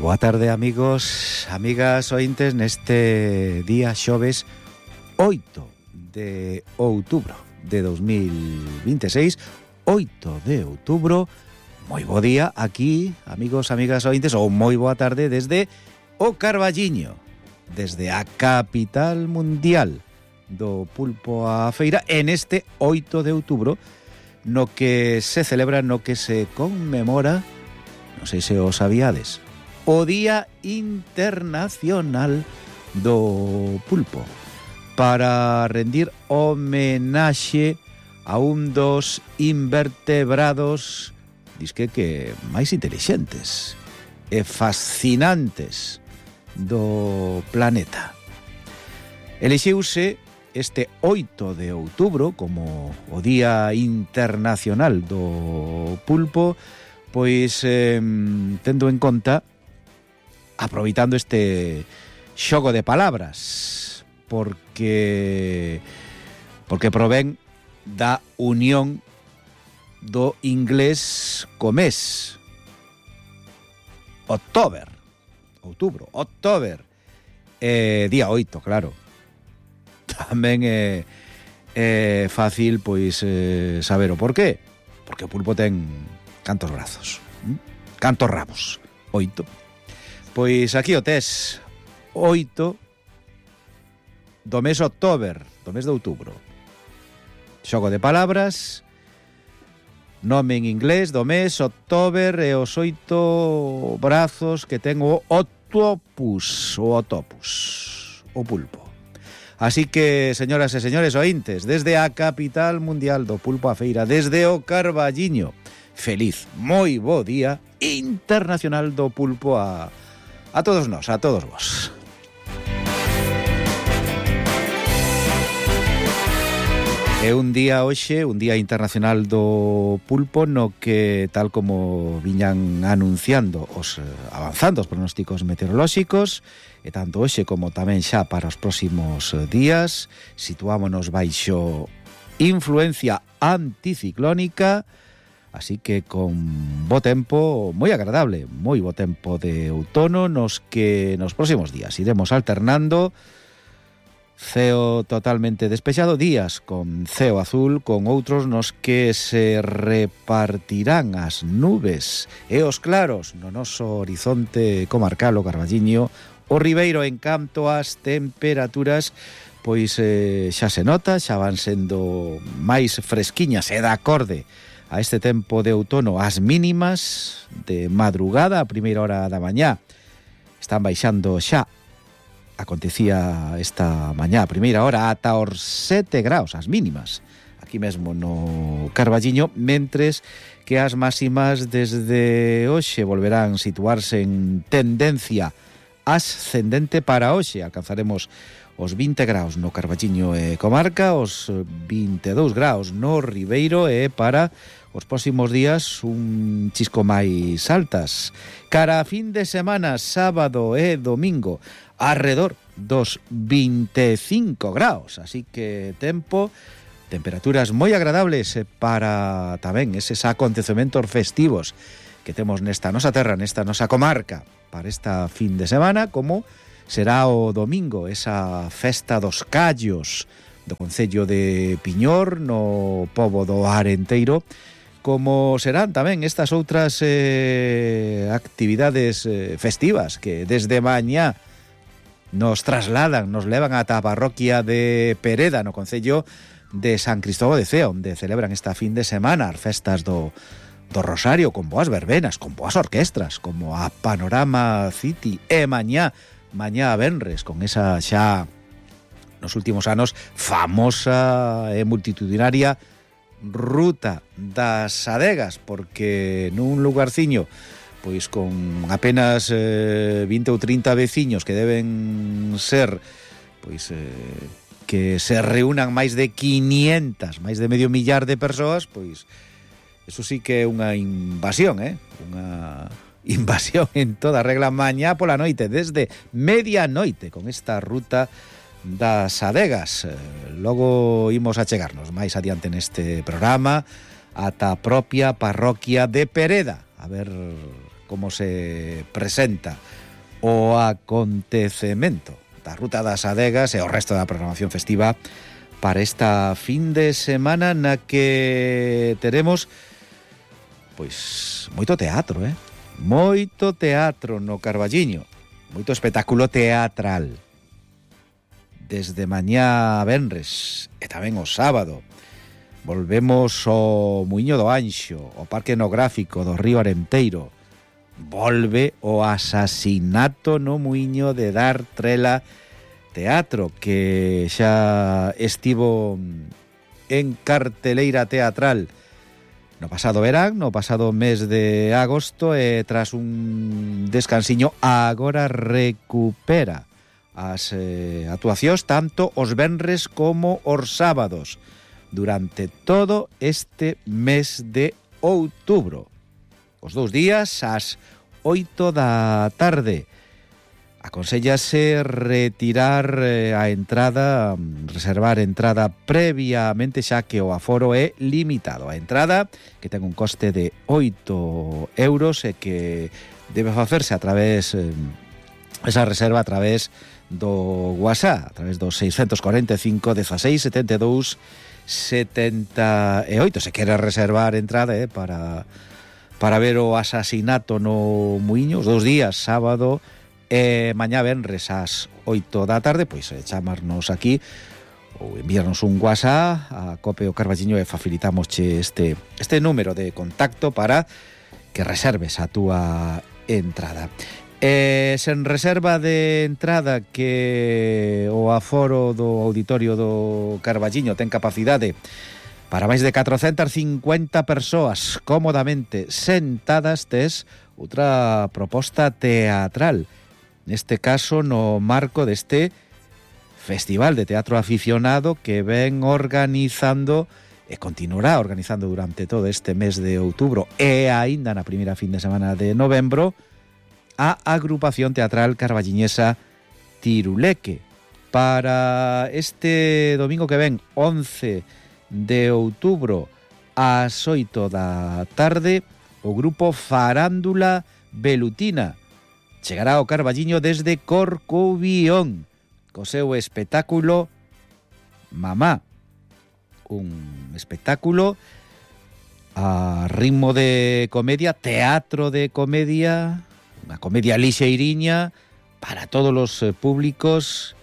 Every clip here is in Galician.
boa tarde, amigos, amigas ointes, neste día xoves 8 de outubro de 2026, 8 de outubro. Moi bo día aquí, amigos, amigas ointes, ou moi boa tarde desde o Carballiño, desde a capital mundial do pulpo a feira, en este 8 de outubro, no que se celebra, no que se conmemora, non sei se o sabíades, o Día Internacional do Pulpo, para rendir homenaxe a un dos invertebrados, disque que máis intelixentes e fascinantes do planeta. Elixiuse este 8 de outubro como o Día Internacional do Pulpo, pois tendo en conta, aproveitando este xogo de palabras, porque provén da unión do inglés co mes. Outubro, día 8, claro. Tamén é fácil, pois, saber o porqué. Porque o pulpo ten cantos brazos, cantos rabos, 8. Pois aquí o tes, 8 do mes October, do mes de outubro. Xogo de palabras, nome en inglés do mes October e os 8 brazos que ten o octopus, o pulpo. Así que, señoras e señores ointes, desde a capital mundial do pulpo a feira, desde o Carballiño, feliz, moi bo día internacional do pulpo a todos nós, a todos vos. É un día hoxe, un día internacional do pulpo, no que, tal como viñan anunciando os avanzando os pronósticos meteorolóxicos, e tanto hoxe como tamén xa para os próximos días, situámonos baixo influencia anticiclónica, así que con bo tempo, moi agradable, moi bo tempo de outono, nos que nos próximos días iremos alternando ceo totalmente despexado, días con ceo azul, con outros nos que se repartirán as nubes e os claros no noso horizonte comarcal, o Carballiño, o Ribeiro. En canto ás temperaturas, pois xa se nota, xa van sendo máis fresquiñas e de acorde a este tempo de outono. As mínimas de madrugada, a primeira hora da mañá, están baixando xa. Acontecía esta mañá, a primeira hora, ata os 7 graus, as mínimas, aquí mesmo no Carballiño, mentres que as máximas desde hoxe volverán situarse en tendencia ascendente para hoxe. Alcanzaremos os 20 graus no Carballiño e comarca, os 22 graus no Ribeiro, e para os próximos días un chisco máis altas. Cara a fin de semana, sábado e domingo, arredor dos 25 graus, así que temperaturas moi agradables para tamén eses acontecementos festivos que temos nesta nosa terra, nesta nosa comarca, para esta fin de semana, como será o domingo, esa festa dos callos do concello de Piñor, no pobo do Arenteiro, como serán tamén estas outras actividades festivas que desde mañá nos trasladan, nos levan ata a parroquia de Pereda, no concello de San Cristóbal de Cea, onde celebran esta fin de semana as festas do Rosario, con boas verbenas, con boas orquestras, como a Panorama City, e mañá a venres, con esa xa nos últimos anos famosa e multitudinaria Ruta das Adegas, porque nun lugarciño pois con apenas 20 ou 30 veciños que deben ser, pois que se reúnan máis de 500, máis de medio millar de persoas, pois eso sí que é unha invasión, unha invasión en toda regla, mañá pola noite, desde medianoite, con esta Ruta das Adegas. Logo imos a chegarnos máis adiante neste programa ata a propia parroquia de Pereda, a ver como se presenta o acontecemento da Ruta das Adegas e o resto da programación festiva para esta fin de semana na que teremos pois moito teatro, moito teatro no Carballiño, moito espectáculo teatral desde mañá a venres e tamén o sábado. Volvemos ao Muiño do Anxo, o Parque Etnográfico do Río Arenteiro. Volve o asasinato no Muiño de Dar Trela Teatro, que xa estivo en carteleira teatral no pasado verán, no pasado mes de agosto, e tras un descansiño agora recupera as actuacións tanto os venres como os sábados durante todo este mes de outubro. Os 2 días ás 8 da tarde. Aconsellase retirar a entrada, reservar entrada previamente, xa que o aforo é limitado. A entrada, que ten un coste de 8 euros e que debe facerse a través, esa reserva a través do WhatsApp, a través do 645 16 72 78. Se quere reservar entrada para ver o asasinato no Muiño, os 2 días, sábado e mañá venres ás 8 da tarde, pois chamarnos aquí ou enviarnos un WhatsApp a Cope o Carballiño e facilitamosche este número de contacto para que reserves a túa entrada. Sen reserva de entrada, que o aforo do auditorio do Carballiño ten capacidade para máis de 450 persoas cómodamente sentadas, tes outra proposta teatral. Neste caso, no marco deste Festival de Teatro Aficionado que ven organizando e continuará organizando durante todo este mes de outubro e aínda na primeira fin de semana de novembro, a agrupación teatral carballiñesa Tiruleque. Para este domingo que ven, 11 de outubro, ás 8 da tarde, o grupo Farándula Velutina chegará ao Carballiño desde Corcubión co seu espectáculo Mamá, un espectáculo a ritmo de comedia, teatro de comedia, unha comedia lixeiriña para todos os públicos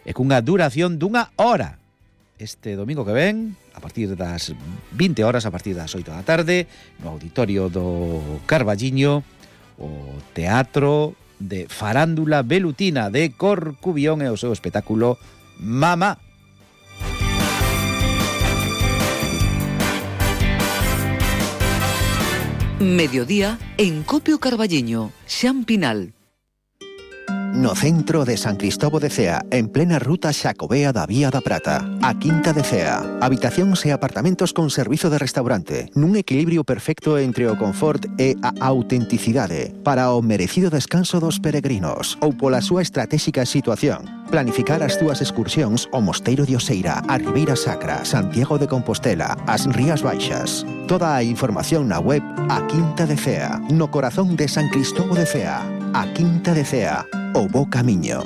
e cunha duración dunha hora. Este domingo que ven, a partir das 20 horas, a partir das 8 da tarde, no auditorio do Carballiño, o teatro de Farándula Velutina de Corcubión e o seu espectáculo Mamá. Mediodía en Copio Carballiño, Xan Pinal. No centro de San Cristóbal de Cea, en plena ruta Xacobea da Vía da Prata, a Quinta de Cea. Habitacións e apartamentos con servizo de restaurante, nun equilibrio perfecto entre o confort e a autenticidade, para o merecido descanso dos peregrinos, ou pola súa estratégica situación. Planificar as túas excursións ao Mosteiro de Oseira, a Ribeira Sacra, Santiago de Compostela, as Rías Baixas. Toda a información na web A Quinta de Cea, no corazón de San Cristóbal de Cea. A Quinta de Cea, o bo camiño.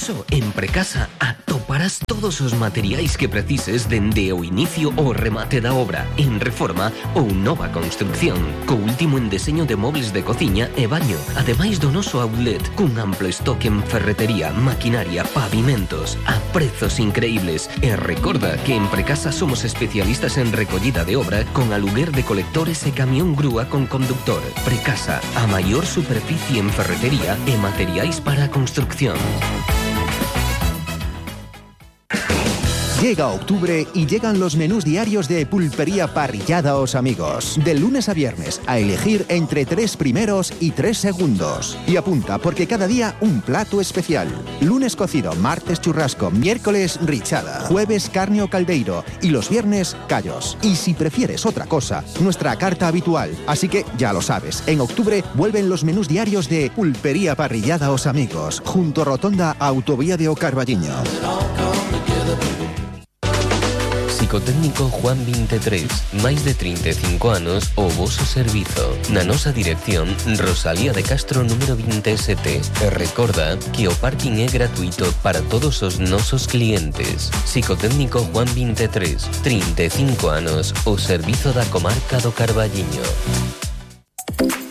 Só en Precasa atoparás todos os materiais que precises dende o inicio ao remate da obra, en reforma ou nova construcción, co último en deseño de mobles de cociña e baño, ademais do noso outlet, cun amplo estoque en ferretería, maquinaria, pavimentos, a prezos increíbles. E recorda que en Precasa somos especialistas en recollida de obra con aluguer de colectores e camión grúa con conductor. Precasa, a maior superficie en ferretería e materiais para a construcción. Llega octubre y llegan los menús diarios de Pulpería Parrillada Os Amigos. De lunes a viernes, a elegir entre 3 primeros y 3 segundos. Y apunta, porque cada día un plato especial. Lunes cocido, martes churrasco, miércoles richada, jueves carne o caldeiro y los viernes callos. Y si prefieres otra cosa, nuestra carta habitual. Así que ya lo sabes, en octubre vuelven los menús diarios de Pulpería Parrillada Os Amigos, junto a Rotonda Autovía de O Carballiño. Psicotécnico Juan 23, máis de 35 anos o voso servizo. Na nosa dirección, Rosalía de Castro número 27. E recorda que o parking é gratuito para todos os nosos clientes. Psicotécnico Juan 23, 35 anos, o servizo da comarca do Carballiño.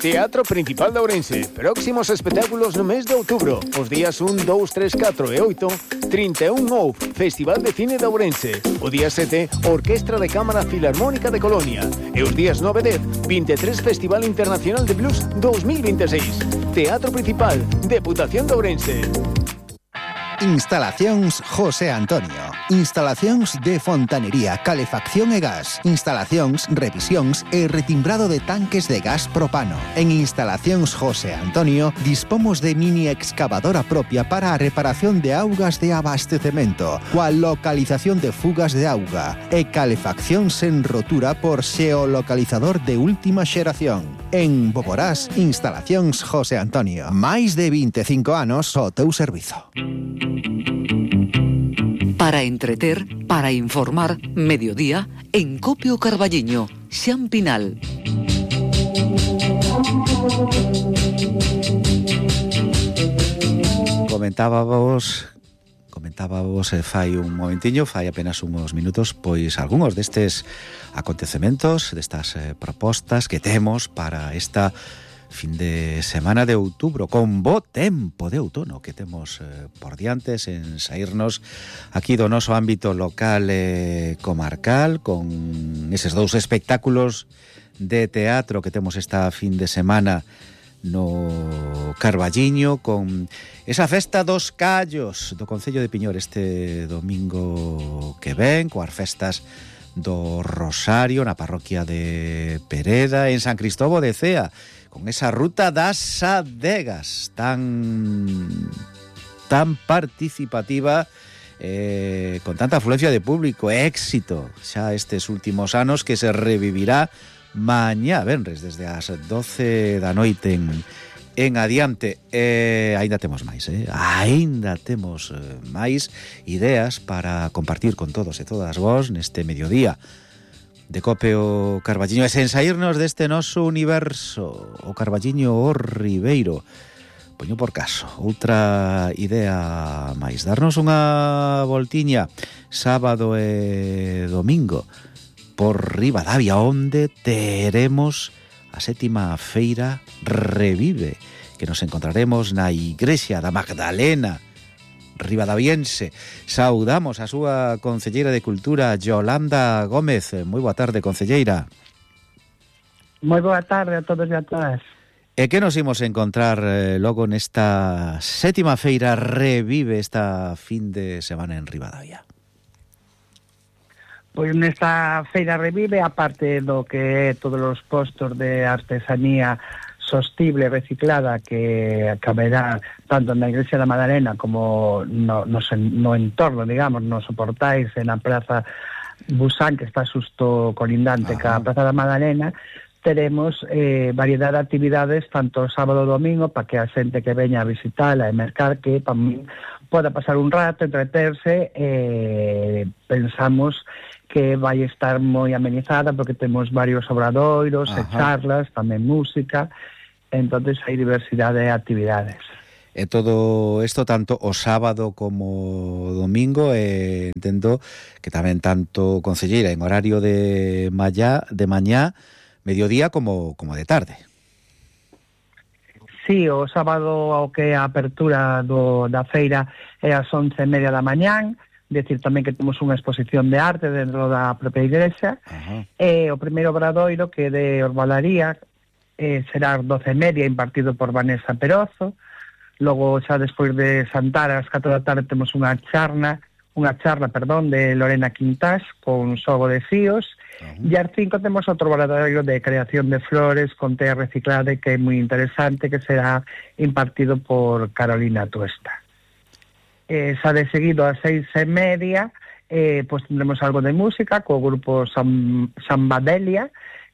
Teatro Principal de Ourense. Próximos espectáculos no mes de outubro. Os días 1, 2, 3, 4 e 8, 31 OUF, Festival de Cine de Ourense. O día 7, Orquestra de Cámara Filarmónica de Colonia. E os días 9 e 10, 23 Festival Internacional de Blues 2026. Teatro Principal, Deputación de Ourense. Instalacións José Antonio. Instalacións de fontanería, calefacción e gas. Instalacións, revisións e retimbrado de tanques de gas propano. En Instalacións José Antonio dispomos de mini excavadora propia para a reparación de augas de abastecemento, coa localización de fugas de auga e calefacción sen rotura por xeolocalizador de última xeración. En Boborás, Instalacións José Antonio. Máis de 25 anos ao teu servizo. Para entreter, para informar, mediodía, en Copio Carballiño, Xan Pinal. Comentábamos fai un momentiño, fai apenas uns minutos, pois algúns destes acontecementos, destas propostas que temos para esta fin de semana de outubro, con bo tempo de outono que temos por diante, en saírnos aquí do noso ámbito local e comarcal, con eses dous espectáculos de teatro que temos esta fin de semana no Carballiño, con esa festa dos callos do Concello de Piñor este domingo que ven, coas festas do Rosario na parroquia de Pereda, en San Cristóbal de Cea, con esa ruta das adegas tan participativa, con tanta afluencia de público, éxito xa estes últimos anos, que se revivirá mañá venres desde as 12 da noite en adiante. Aínda temos máis, aínda temos máis ideas para compartir con todos e todas vos neste mediodía de Copio Carballiño, e sen saírnos deste noso universo, o Carballiño o Ribeiro. Poño por caso outra idea máis, darnos unha voltiña sábado e domingo por Ribadavia, onde teremos a 7ª feira Revive, que nos encontraremos na Igrexa da Magdalena ribadaviense. Saudamos a súa concelleira de Cultura, Yolanda Gómez. Moi boa tarde, concelleira. Moi boa tarde a todos e a todas. E que nos imos encontrar logo nesta 7ª feira Revive esta fin de semana en Ribadavia? Pois nesta feira Revive, aparte do que é todos os postos de artesanía sostible, reciclada, que haberá tanto na Igrexa da Madalena como no entorno, digamos, nos portais, na Praza Busán, que está xusto colindante ca Praza da Madalena, teremos variedade de actividades tanto sábado e domingo para que a xente que veña a visitala e mercar, que para min poda pasar un rato, entreterse. Pensamos que vai estar moi amenizada porque temos varios obradoiros e charlas, tamén música, entonces hai diversidade de actividades. E todo isto tanto o sábado como o domingo, entendo que tamén tanto, concelleira, en horario de mañá, mediodía como de tarde. Sí, o sábado ao que a apertura da feira é ás 11:30 da mañán, decir tamén que temos unha exposición de arte dentro da propia igrexa. O primeiro obradoiro, que é de Orbalaría, será ás 12:30, impartido por Vanessa Perozo. Logo, xa despois de Santar, ás 4 da tarde, temos unha charla, de Lorena Quintás, con xogo de fíos. E ás 5 temos outro obradoiro de creación de flores con tea reciclada, que é moi interesante, que será impartido por Carolina Tuesta. Xa de seguido ás 6:30 pois tendremos algo de música co grupo Sambadelia,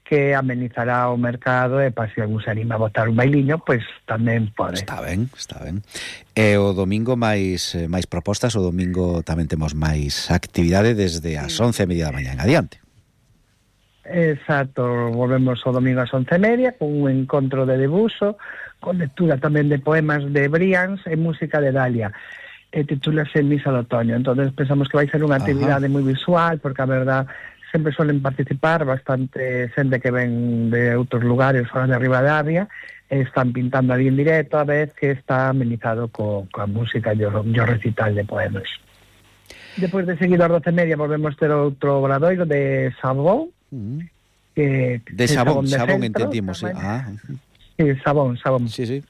que amenizará o mercado e para se algún se anima a botar un bailiño, pois tamén pode. Está ben. E o domingo máis propostas, o domingo tamén temos máis actividade desde as 11:30 da mañá en adiante. Exacto, volvemos o domingo ás 11:30 con un encontro de debuxo, con lectura tamén de poemas de Brians e música de Dalia. Titúlase Misa de Otoño. Entonces pensamos que vai ser unha actividade moi visual, porque a verdad sempre suelen participar bastante xente que ven de outros lugares fora de Ribadavia, están pintando ali en directo, a vez que está amenizado coa música e o recital de poemas. Depois de seguido ás 12:30 volvemos ter outro obradoiro de Sabón, de Sabón entendimos, sí, Sabón. Sí.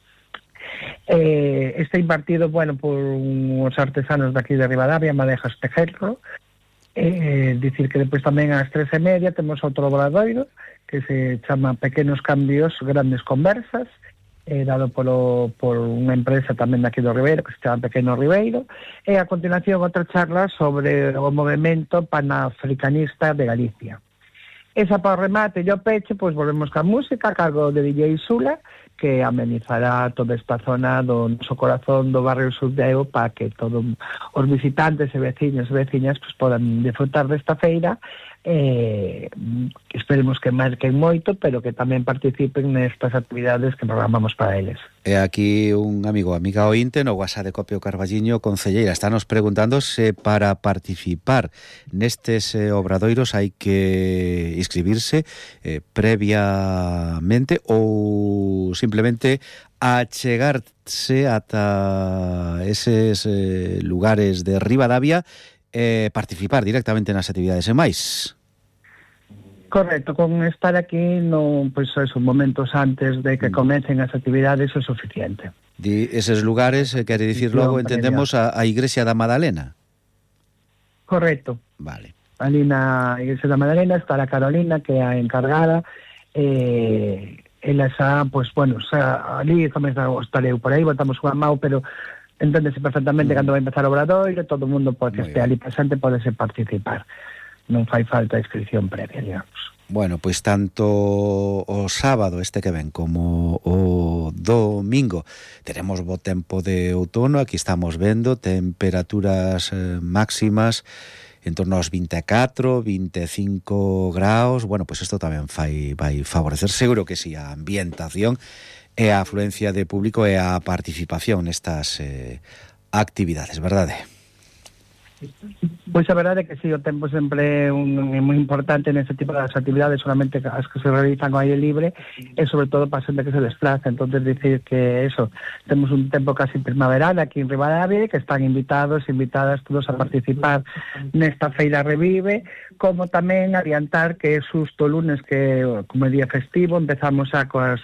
Está impartido, por uns artesanos de aquí de Ribadavia, Madejas Tejerro. Dicir que depois tamén ás 13:30 temos outro obradoiro que se chama Pequenos Cambios, Grandes Conversas, dado por unha empresa tamén de aquí do Ribeiro que se chama Pequeno Ribeiro, e a continuación outra charla sobre o movimento panafricanista de Galicia. Esa para o remate e o peche, pois volvemos ca música a cargo de DJ Sula, que amenizará toda esta zona do noso corazón do barrio Sudeo para que todos os visitantes e veciños e veciñas pues, podan disfrutar desta feira. Esperemos que marquen moito, pero que tamén participen nestas actividades que programamos para eles. E aquí un amiga ointe no WhatsApp de Copio Carballiño, concelleira, está nos preguntando se para participar nestes obradoiros hai que inscribirse previamente ou simplemente achegarse ata eses lugares de Ribadavia e participar directamente nas actividades e máis. Correcto, con estar aquí momentos antes de que comecen as actividades é suficiente. Eses lugares, quere dicir logo, entendemos a Igrexa da Madalena. Correcto. Vale. Ali na Igrexa da Madalena está a Carolina, que é a encargada, ela xa, ali comeza o estareu por aí, botamos unha mau, pero enténdese perfectamente cando vai empezar o obradoiro, todo o mundo que este ali presente podese participar. Non fai falta inscripción previa, digamos. Bueno, pois tanto o sábado este que ven como o domingo teremos bo tempo de outono, aquí estamos vendo temperaturas máximas en torno aos 24, 25 graus. Bueno, pois isto tamén vai favorecer, seguro que si, a ambientación e a afluencia de público e a participación nestas actividades, verdade? Pois a verdade é que si, o tempo sempre é moi importante neste tipo de actividades, solamente as que se realizan ao aire libre e sobre todo para a xente que se desplaza. Entonces dicir que eso, temos un tempo casi primaveral aquí en Ribadavia, que están invitadas todos a participar nesta feira Revive, como tamén adiantar que é xusto o lunes, que como é día festivo, empezamos xa coas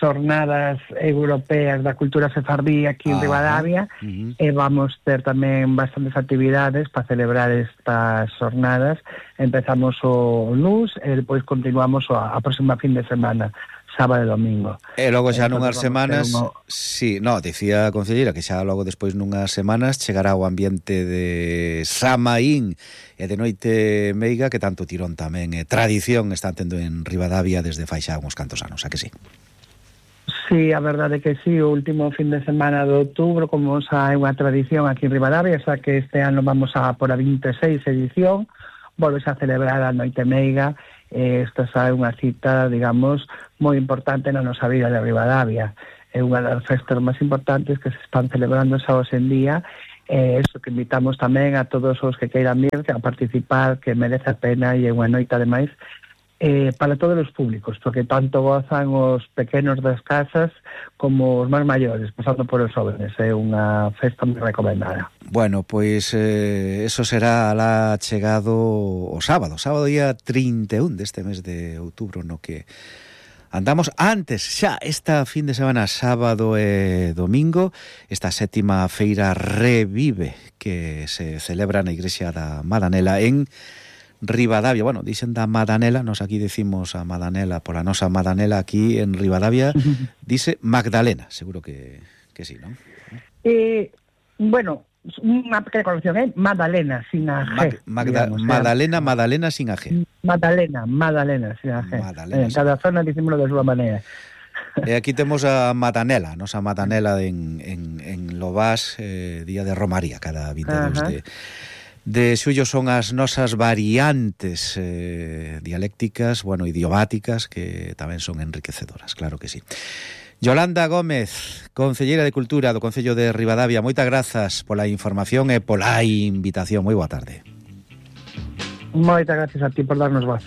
xornadas europeas da cultura sefardí aquí en Ribadavia, e vamos ter tamén bastantes actividades para celebrar estas xornadas. Empezamos o luns e depois continuamos a próxima fin de semana, sábado e domingo. E logo xa nunhas semanas, dicía a concelleira que xa logo despois nunhas semanas chegará o ambiente de Samaín e de Noite Meiga, que tanto tirón tamén e tradición están tendo en Ribadavia desde fai xa uns cantos anos, a que sí? Sí, a verdade é que sí, o último fin de semana de outubro, como xa é unha tradición aquí en Ribadavia, xa que este ano vamos a por a 26 edición, volves a celebrar a Noite Meiga, esta xa é unha cita, digamos, moi importante na nosa vida de Ribadavia. É unha das festas máis importantes que se están celebrando xa hoxe en día, eso que invitamos tamén a todos os que queiran vir a participar, que merece a pena, e é unha noite ademais para todos os públicos, porque tanto gozan os pequenos das casas como os máis maiores, pasando por os jóvenes. É unha festa moi recomendada. Bueno, pois eso será lá chegado o sábado día 31 deste mes de outubro, no que andamos antes xa esta fin de semana, sábado e domingo, esta sétima feira Revive que se celebra na Igrexa da Madanela en Ribadavia. Bueno, dicen da Madanela, nos aquí decimos a Madanela, pola nosa Madanela aquí en Ribadavia, dice Magdalena, seguro que sí, non? Bueno, Unha pequena corrección, é Madalena, sin a G. Madalena sin a G. Madalena, sin a G. Cada zona dicímolo da súa maneira. E aquí temos a Matanela, nosa Matanela en Lobás, día de Romaría, cada 22 de xullo. Son as nosas variantes dialécticas, idiomáticas, que tamén son enriquecedoras, claro que sí. Yolanda Gómez, concelleira de Cultura do Concello de Ribadavia, moitas grazas pola información e pola invitación. Moi boa tarde. Moitas gracias a ti por darnos voz.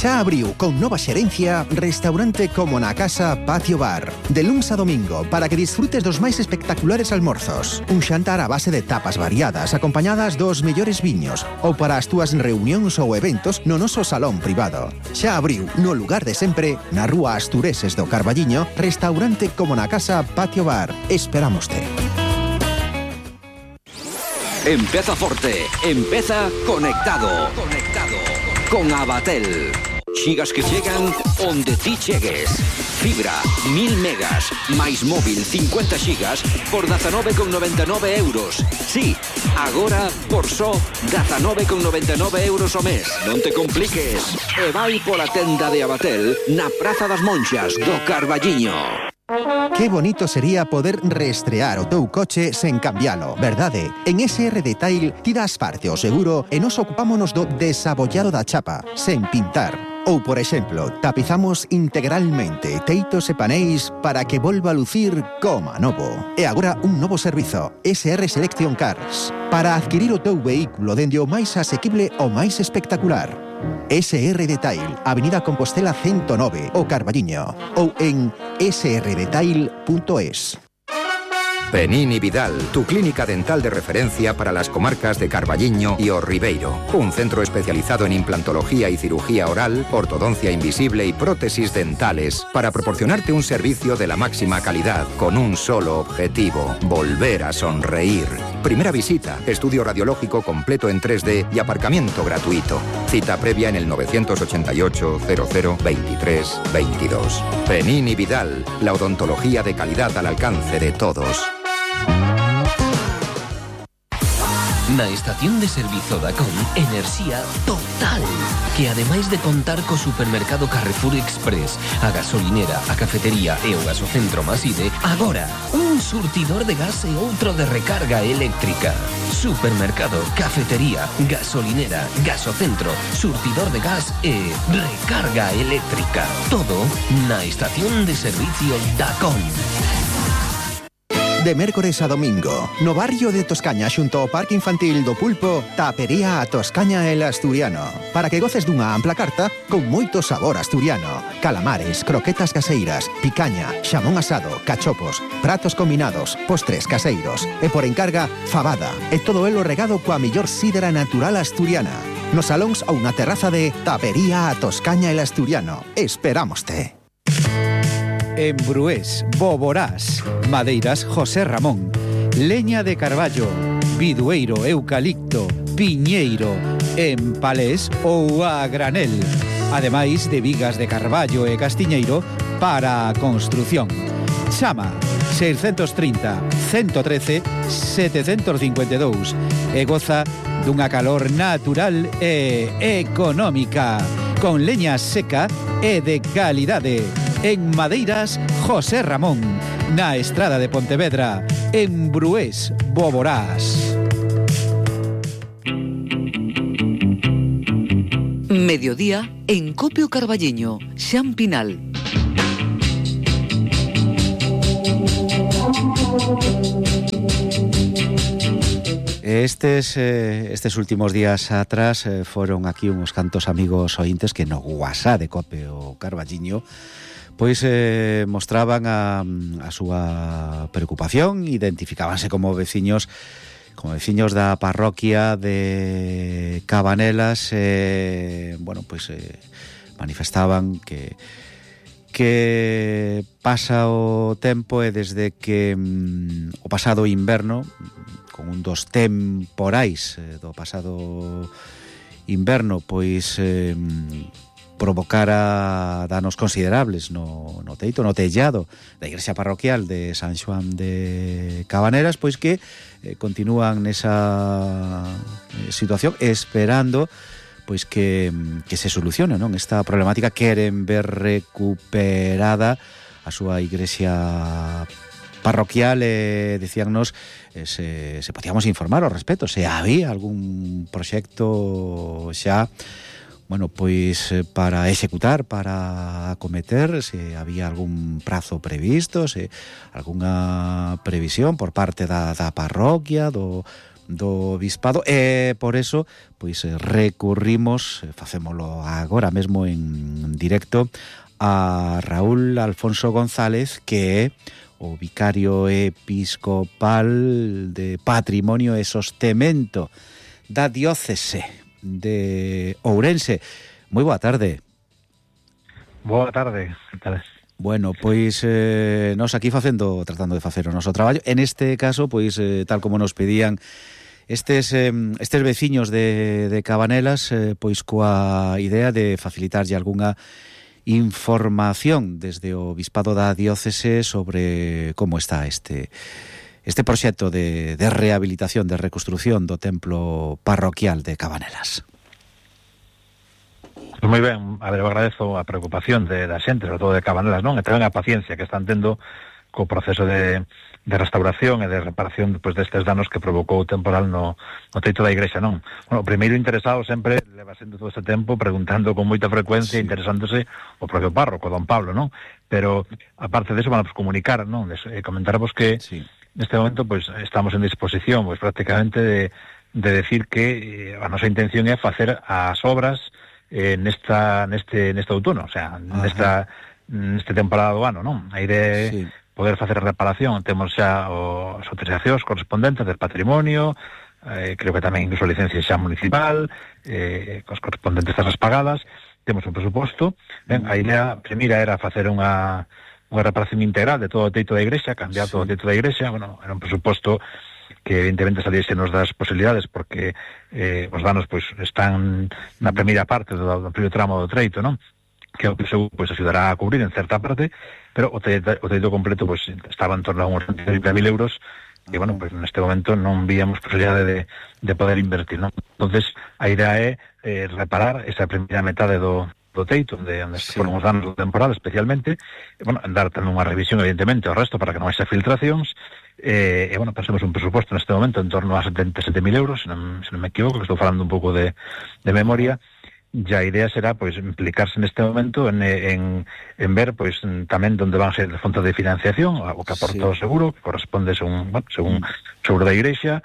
Xa abriu con nova xerencia restaurante Como na Casa Patio Bar. De luns a domingo para que disfrutes dos máis espectaculares almorzos. Un xantar a base de tapas variadas acompañadas dos mellores viños ou para as túas reunións ou eventos no noso salón privado. Xa abriu no lugar de sempre na rúa Astureses do Carballiño restaurante Como na Casa Patio Bar. Esperámoste. Empeza forte, empeza conectado. Con Abatel. Xigas que chegan onde ti chegues. Fibra, 1000 megas, máis móvil 50 xigas por 19,99 euros. Sí, agora por só 19,99 euros o mes. Non te compliques. E vai pola tenda de Abatel na Praza das Monxas do Carballiño. Que bonito sería poder reestrear o teu coche sen cambialo, verdade? En SR Detail ti das parte o seguro e nos ocupámonos do desabollado da chapa, sen pintar. Ou, por exemplo, tapizamos integralmente teitos e paneis para que volva a lucir como novo. E agora un novo servizo, SR Selection Cars, para adquirir o teu vehículo dende o máis asequible ao máis espectacular. SR Detail, Avenida Compostela 109, o Carballiño, ou en srdetail.es. Penini Vidal, tu clínica dental de referencia para las comarcas de Carballiño y O Ribeiro. Un centro especializado en implantología y cirugía oral, ortodoncia invisible y prótesis dentales para proporcionarte un servicio de la máxima calidad con un solo objetivo: volver a sonreír. Primera visita, estudio radiológico completo en 3D y aparcamiento gratuito. Cita previa en el 988 00 23 22. Penini Vidal, la odontología de calidad al alcance de todos. Na estación de servizo Dacom, enerxía total, que ademais de contar co supermercado Carrefour Express, a gasolinera, a cafetería e o gasocentro Maside, agora un surtidor de gas e outro de recarga eléctrica. Supermercado, cafetería, gasolinera, gasocentro, surtidor de gas e recarga eléctrica. Todo na estación de servicio Dacom. De mércores a domingo, no barrio de Toscaña xunto ao Parque Infantil do Pulpo, tapería a Toscaña el Asturiano, para que goces dunha ampla carta con moito sabor asturiano. Calamares, croquetas caseiras, picaña, xamón asado, cachopos, pratos combinados, postres caseiros e por encarga, fabada, e todo elo regado coa mellor sidra natural asturiana. Nos salóns ou na terraza de Tapería a Toscaña el Asturiano. Esperámoste. En Brués, Boborás, madeiras José Ramón, leña de carballo, bidueiro, eucalipto, piñeiro, en palés ou a granel, ademais de vigas de carballo e castiñeiro para a construción. Chama 630 113 752 e goza dunha calor natural e económica, con leña seca e de calidade. En Madeiras, José Ramón, na Estrada de Pontevedra, en Brués, Boborás. Mediodía en Copio Carballiño, Xampinal. Estes últimos días atrás foron aquí uns cantos amigos ointes que no WhatsApp de Copio Carballiño pois mostraban a súa preocupación, identificábanse como veciños da parroquia de Cabanelas, manifestaban que pasa o tempo e desde que o pasado inverno, con un dos temporais do pasado inverno, pois provocara danos considerables no teito, no tellado da igrexa parroquial de San Xoán de Cabanelas, pois que continúan nesa situación esperando pois que se solucione, non, esta problemática. Queren ver recuperada a súa igrexa parroquial. Dicíannos se podíamos informar ao respecto, se había algún proxecto xa, bueno, pois para executar, para acometer, se había algún prazo previsto, se algunha previsión por parte da parroquia, do bispado, e por eso pois recurrimos, facémolo agora mesmo en directo, a Raúl Alfonso González, que é o vicario episcopal de Patrimonio e Sostemento da diócese de Ourense. Moi boa tarde. Boa tarde, que tal? Bueno, pois nos aquí tratando de facer o noso traballo. En este caso, pois tal como nos pedían estes veciños de Cabanelas, pois coa idea de facilitarlle algunha información desde o bispado da diócese sobre como está este proxecto de rehabilitación, de reconstrucción do templo parroquial de Cabanelas. Pues moi ben, a ver, eu agradezo a preocupación da xente, sobre todo de Cabanelas, non? E tamén a paciencia que están tendo co proceso de restauración e de reparación despois destes danos que provocou o temporal no teito da igrexa, non? Bueno, o primeiro interesado sempre leva sendo todo este tempo preguntando con moita frecuencia, sí, interesándose o propio párroco, don Pablo, non? Pero, aparte deso, van a comunicar, non? Comentarvos que sí, neste momento, pois, estamos en disposición, pois, prácticamente de decir que a nosa intención é facer as obras neste outono, o sea, neste temporada do ano, non? A idea sí, poder facer a reparación. Temos xa as autorizacións correspondentes del patrimonio, creo que tamén incluso licencia xa municipal, cos correspondentes das pagadas. Temos un presuposto. Ben, a idea primeira era facer unha reparación integral de todo o teito da igrexa, cambiar todo o teito da igrexa. Bueno, era un presuposto que evidentemente saliese nos das posibilidades, porque os danos pois están na primeira parte do primeiro tramo do treito, non? Que o que seguro pois axudará a cubrir en certa parte, pero o teito completo pois estaba en torno a uns 30.000 euros, e bueno, pois neste momento non víamos posibilidade de poder invertir, non? Entonces, a idea é reparar esa primeira metade do teito, onde sí, foron os danos do temporal especialmente, e, bueno, dar tamén unha revisión evidentemente ao resto para que non haxa filtracións, e bueno, pensemos un presuposto neste momento en torno a 77.000 euros, se non me equivoco, que estou falando un pouco de memoria. E a idea será, pois, implicarse neste momento en ver, pois, tamén onde van ser as fontes de financiación, o que aporta o seguro, que corresponde según seguro da igrexa,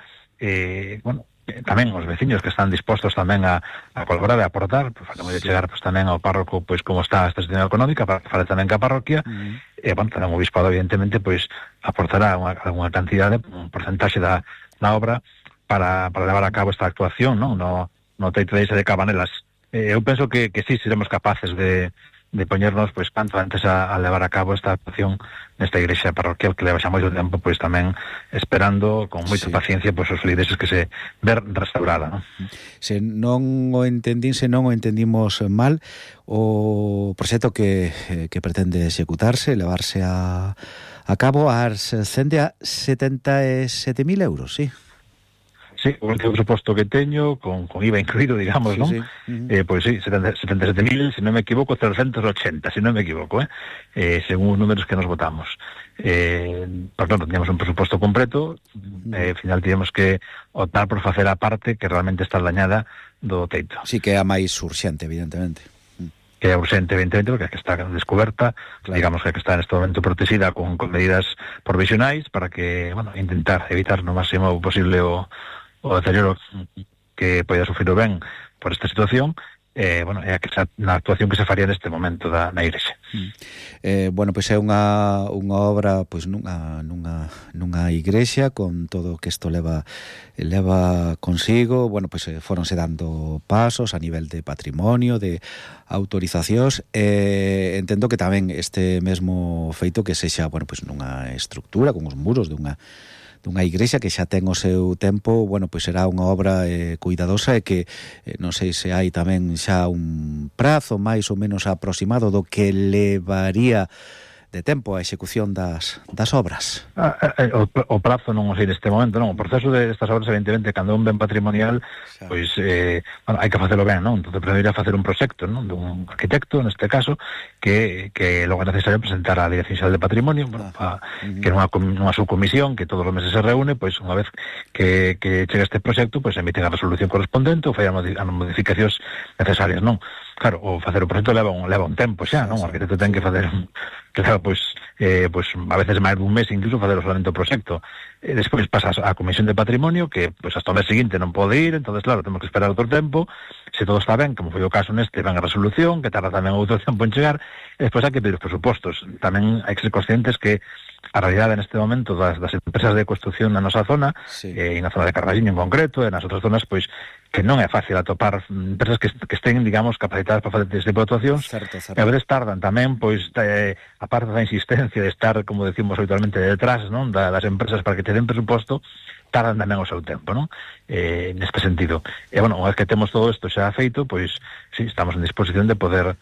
bueno, tamén os veciños que están dispostos tamén a colaborar e a aportar, pois, facemos de chegar pois, tamén ao párroco pois como está esta situación económica, para que fale tamén ca parroquia, e, bueno, tamén o bispado, evidentemente, pois, aportará unha cantidade, un porcentaxe da obra para levar a cabo esta actuación, non? No teito de Cabanelas. Eu penso que sí, seremos capaces de poñernos pois canto antes a levar a cabo esta actuación nesta igrexa parroquial que leva xa moito tempo pois tamén esperando con moita paciencia pois os feligreses que se ver restaurada, non? Se non o entendimos mal, o proxecto que pretende executarse, levarse a cabo, ascende a 77.000 euros, sí? Sí, o último presuposto que teño, con IVA incluído, digamos, sí, non? Sí. Pois sí, 77.000, se non me equivoco, 380, se non me equivoco, según os números que nos votamos. Por claro, teníamos un presuposto completo, ao final teníamos que optar por facer a parte que realmente está dañada do teito. Sí, que é a máis urxente, evidentemente. Que é urxente, evidentemente, porque está descoberta, claro, digamos que está neste momento protegida con medidas provisionais para que, bueno, intentar evitar no máximo posible o deterioro que poida sufrir o ben por esta situación. Bueno, é na actuación que se faría neste momento na igrexa. Bueno, pois é unha obra pois nunha igrexa con todo o que isto leva consigo. Bueno, pois foronse dando pasos a nivel de patrimonio, de autorizacións, entendo que tamén este mesmo feito que sexa, bueno, pois nunha estructura con os muros dunha dunha igrexa que xa ten o seu tempo, bueno, pois será unha obra cuidadosa e que non sei se hai tamén xa un prazo máis ou menos aproximado do que levaría de tempo a execución das obras. O prazo non o sei neste momento, non. O proceso destas obras, evidentemente, cando un ben patrimonial, pois, bueno, hai que facelo ben, non? Entón, primeiro facer un proxecto, non? Dun arquitecto, neste caso, que logo é necesario presentar á Dirección Xeral de Patrimonio, bueno, que nunha subcomisión que todos os meses se reúne, pois, unha vez que chega este proxecto, pois, emiten a resolución correspondente ou fai as modificacións necesarias, non? Claro, o facer o proxecto leva un tempo xa, non? O arquitecto ten que facer claro, pois a veces máis dun mes incluso facer o solamente o proxecto. Despois pasa a Comisión de Patrimonio, que pois hasta o mes seguinte non pode ir, entonces claro, temos que esperar outro tempo. Se todo está ben, como foi o caso neste, ven a resolución, que tarda tamén outro tempo en chegar, e despois hai que pedir os presupostos. Tamén hai que ser conscientes que a realidade neste momento das empresas de construcción na nosa zona, e na zona de Carballiño en concreto, e nas outras zonas, pois que non é fácil atopar empresas que estén, digamos, capacitadas para facer este tipo de actuacións. E a veces tardan tamén, pois, a parte da insistencia de estar, como decimos habitualmente, detrás, non, das empresas para que te den presuposto, tardan tamén o seu tempo, non? Neste sentido. E, bueno, unha vez que temos todo isto xa feito, pois, sí, estamos en disposición de poder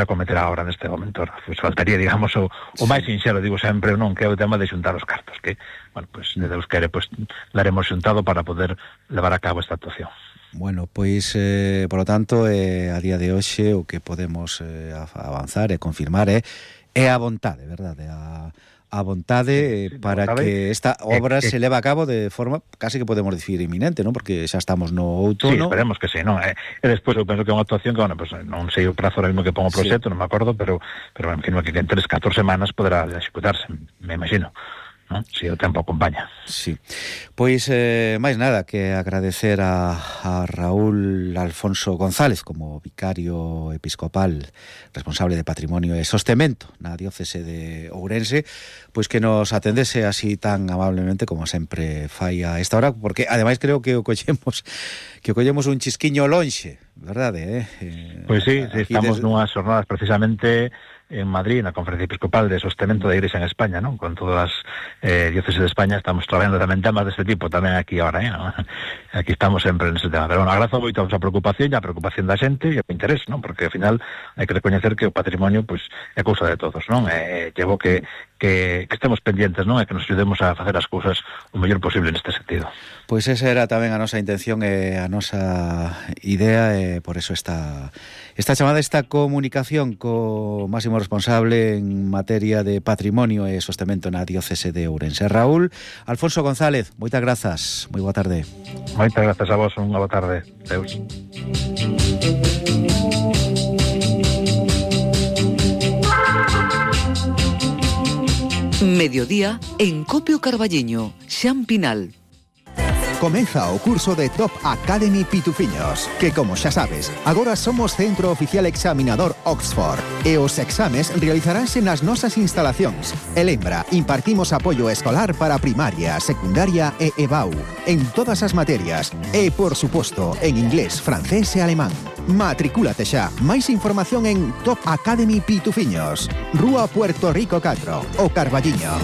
acometer a obra neste momento. Pois faltaría, digamos, o máis sinxelo, digo sempre, non, que é o tema de xuntar os cartos, que, bueno, pois, de Deus quere, pois, daremos xuntado para poder levar a cabo esta actuación. Bueno, pois, por lo tanto, a día de hoxe o que podemos avanzar e confirmar é a vontade, verdade? A vontade para que esta obra se leva a cabo de forma casi que podemos dicir inminente, non? Porque xa estamos no outono. Sí, esperemos que sí, non? E despois eu penso que é unha actuación que, bueno, pues, non sei o prazo ahora mismo que pongo o proxecto, non me acordo, pero me imagino que en 3-14 semanas poderá executarse, me imagino. ¿No? Si o tempo acompaña. Sí. Pois, máis nada que agradecer a Raúl Alfonso González como vicario episcopal responsable de Patrimonio e Sostemento na diócese de Ourense, pois que nos atendese así tan amablemente como sempre fai a esta hora, porque ademais creo que o collemos un chisquiño lonxe, verdade? Pois sí, estamos nunhas jornadas precisamente en Madrid, na Conferencia Episcopal de Sostemento da Igrexa en España, non? Con todas as dióceses de España estamos traballando tamén temas deste tipo, tamén aquí agora, ¿no? Aquí estamos sempre nese tema. Pero, bueno, agrazo moito a vosa preocupación e a preocupación da xente e o interés, non? Porque, ao final, hai que recoñecer que o patrimonio, pois, é cousa de todos, non? Llevo que estemos pendientes, non? E que nos ayudemos a facer as cousas o mellor posible neste sentido. Pois esa era tamén a nosa intención e a nosa idea, e por eso esta chamada, esta comunicación co máximo responsable en materia de patrimonio e sostemento na diócese de Ourense. Raúl Alfonso González, moitas grazas, moi boa tarde. Moitas grazas a vos, unha boa tarde. Deus. Mediodía en Copio Carballiño, Xampinal. Comeza o curso de Top Academy Pitufiños, que, como xa sabes, agora somos centro oficial examinador Oxford, e os exames realizaránse nas nosas instalacións. E lembra, impartimos apoio escolar para primaria, secundaria e EBAU, en todas as materias, e, por suposto, en inglés, francés e alemán. Matricúlate xa. Máis información en Top Academy Pitufiños, Rúa Puerto Rico 4, o Carballiño.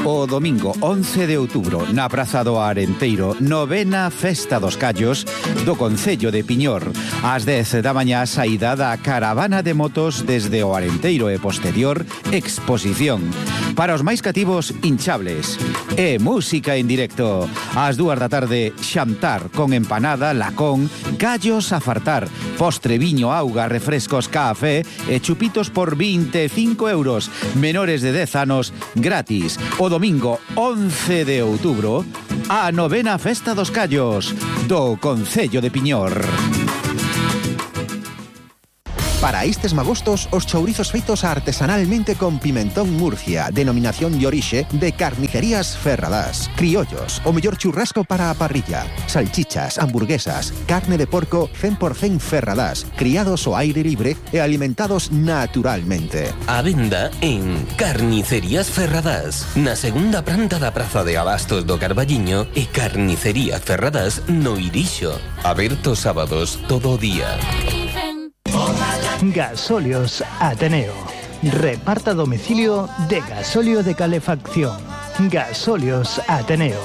O domingo 11 de outubro, na Praza do Arenteiro, 9ª Festa dos Callos do Concello de Piñor. Ás 10 da mañá, saída da caravana de motos desde o Arenteiro e posterior exposición. Para os máis cativos, hinchables e música en directo. Ás 2 da tarde, xantar con empanada, lacón, callos a fartar, postre, viño, auga, refrescos, café e chupitos por 25 euros. Menores de 10 anos, gratis. O domingo 11 de outubro, a 9ª Festa dos Callos do Concello de Piñor. Para estes magostos, os chourizos feitos artesanalmente con pimentón Murcia, denominación de orixe de Carnicerías Ferradás. Criollos, o mellor churrasco para a parrilla. Salchichas, hamburguesas, carne de porco 100% Ferradás, criados ao aire libre e alimentados naturalmente. A venda en Carnicerías Ferradás, na segunda planta da Praza de Abastos do Carballiño e Carnicerías Ferradás no Irixo. Aberto sábados todo o día. Gasóleos Ateneo. Reparta a domicilio de gasóleo de calefacción. Gasóleos Ateneo.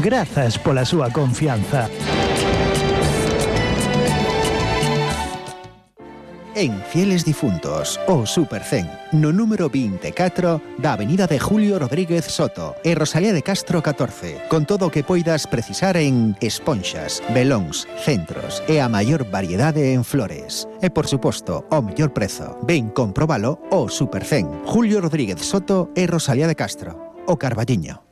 Grazas pola súa confianza. En Fieles Difuntos, o Supercen, no número 24 da Avenida de Julio Rodríguez Soto e Rosalía de Castro 14, con todo o que poidas precisar en esponxas, velóns, centros e a maior variedade en flores. E, por suposto, o mellor prezo. Ven comprobalo o Supercen, Julio Rodríguez Soto e Rosalía de Castro, o Carballiño.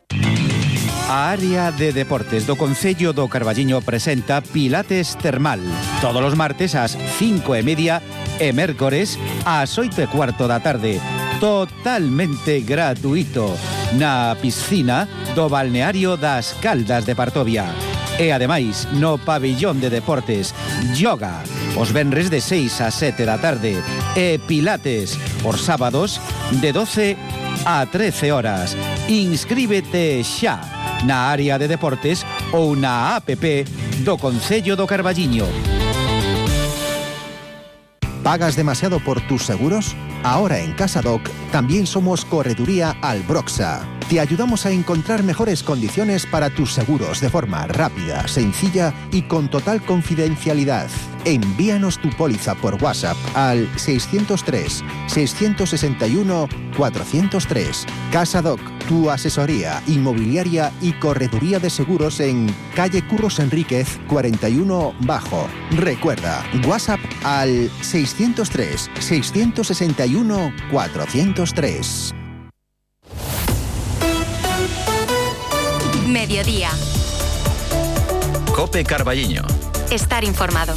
A área de deportes do Concello do Carballiño presenta Pilates Termal. Todos os martes ás 5:30 e mércores ás 8:15 da tarde. Totalmente gratuito na piscina do balneario das Caldas de Partovia. E ademais, no pabillón de deportes, yoga os venres de 6 a 7 da tarde e pilates os sábados de 12 a 13 horas. Inscríbete xa na área de deportes ou na app do Concello do Carballiño. ¿Pagas demasiado por tus seguros? Ahora en CasaDoc también somos Correduría Albroxa. Te ayudamos a encontrar mejores condiciones para tus seguros de forma rápida, sencilla y con total confidencialidad. Envíanos tu póliza por WhatsApp al 603-661-403. CasaDoc, tu asesoría inmobiliaria y correduría de seguros en calle Curros Enríquez 41 Bajo. Recuerda, WhatsApp al 603-661-403. Mediodía. COPE Carballiño. Estar informado.